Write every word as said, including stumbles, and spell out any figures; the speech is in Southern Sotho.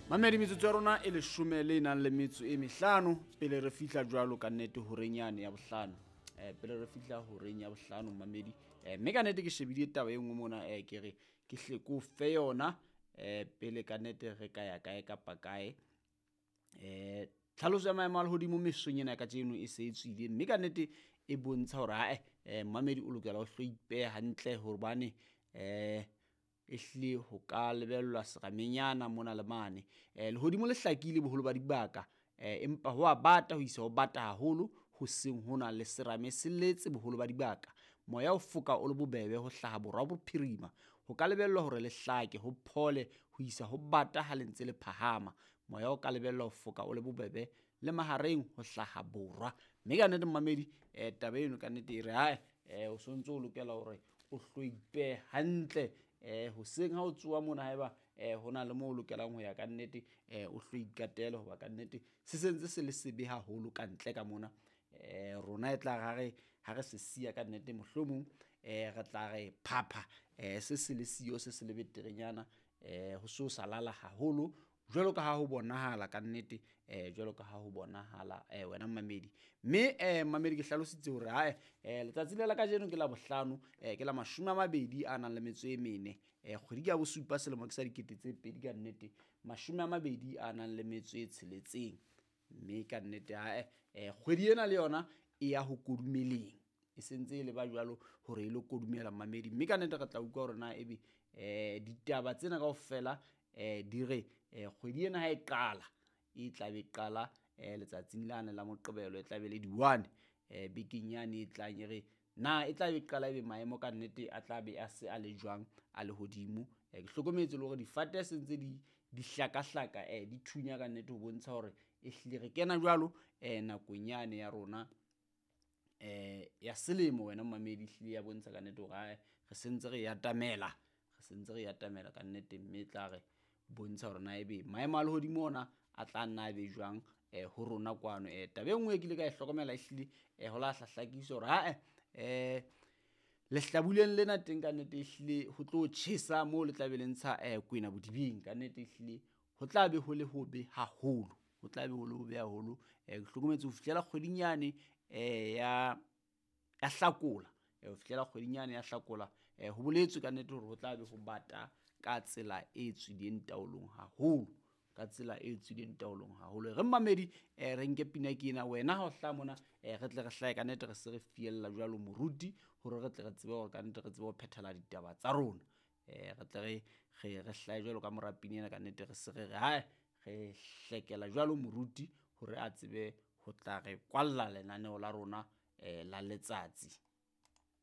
Mamedi, metsotso ya rona e leshome le nang le metso e mehlano pele re fihla jwalo ka nnete horeng yane ya bohlano. Eh, pele re fihla horeng ya bohlano mamedi, eh, mme ka nnete ke shebile taba e nngwe mona, eh, ke re ke hle ko fe yona eh, pele ka nnete re ka ya kae kapa kae. Eh, tlhaloso ya maemo a lehodimo mesong ena ya kajeno e se e tswile, mme ka nnete e bontsha hore ae, eh, mamedi o lokela ho hlo ipehe hantle hobane eh ehlile ho ka lebellwa seramenyana mona le mane. Eh, lehodimo le hlakile boholo ba dibaka, eh, empa ho a bata ho isa ho bata haholo hoseng hona le serame se letse boholo ba dibaka. Moya o foka o le bobebe ho hlaha borwa bophirima. Ho ka lebellwa hore le hlake ho phole ho isa ho bata ha le ntse le phahama. Moya o ka lebellwa ho foka o le bobebe le mahareng ho hlaha borwa. Mme ka nnete mamedi, eh, taba eno ka nnete e re hae, eh, o sontso o lokela hore o hlo ipehe hantle eh hoseng ha o tsoha mona haeba eh hona le moo o lokelang ho ya ka nnete, eh o hlo ikatele hoba ka nnete se sentse se le sebe haholo ka ntle ka mona. Eh rona e tla re ha re ha re se siya ka nnete mohlomong eh re tla re phapha eh se se le siyo se se le beterenyana, eh ho so sa lala haholo jwalo ka ha ho bonahala ka nnete, eh jwalo ka ha ho bonahala eh wena mamedi. Mme eh mamedi ke hlalositse hore hae, eh letsatsi le la kajeno ke la bohlano, eh ke la mashome a mabedi a nang le metso e mene, eh kgwedi ke ya bosupa selemo ke sa dikete tse pedi ka nnete mashome a mabedi a nang le metso e tsheletseng. Mme ka nnete hae, eh kgwedi ena le yona e ya ho kodumeleng, e sentse e le ba jwalo hore e lo kodumela mamedi. Mme ka nnete re tla utlwa hore na ebe eh ditaba tsena kaofela eh di re eh kgwedi ena ha e qala e tla be qala eh letsatsing lane la Moqebelo, e tla be le di one eh bekeng yane e tlang, e re na e tla be qala ebe maemo ka nnete a tla be a se a le jwang a lehodimo. Eh ke hlokometse le hore difate se ntse di di hlakahlaka, eh di thunya ka nnete ho bontsha hore ehlile re kena jwalo eh nakong yane ya rona eh ya selemo. Wena mamedi, ehlile ya bontsha ka nnete hore ae re sentse re atamela, re sentse re atamela ka nnete, mme e tla re bontsha hore na ebe maemo a lehodimo ona a tla nna a be jwang eh ho rona kwano. Eh taba e nngwe e ke ile ka e hlokomela ehlile eh ho la hlahlakisa hore ae, eh lehlabuleng lena teng ka nnete ehlile ho tlo tjhesa moo le tla be le ntsha eh kwena bodibeng. Ka nnete ehlile ho tla be ho le hobe haholo, ho tla be ho le hobe haholo. Eh ke hlokometse ho fihlela kgweding yane eh ya ya Hlakola, eh ho fihlela kgweding yane ya Hlakola, eh ho boletswe ka nnete hore ho tla be ho bata ka tsela e tswileng taolong haholo, ka tsela e tswileng taolong haholo. Re mamedi, eh re nke pina ke ena, wena ha o hlaha mona, eh re tle re hlahe ka nnete, re se re fiella jwalo moruti hore re tle re tsebe hore ka nnete re tsebe ho phethela ditaba tsa rona. Eh re tle re re re hlahe jwalo ka mora pina ena ka nnete, re se re re hae re hlekela jwalo moruti hore a tsebe ho tla re kwalla lenaneo la rona eh la letsatsi.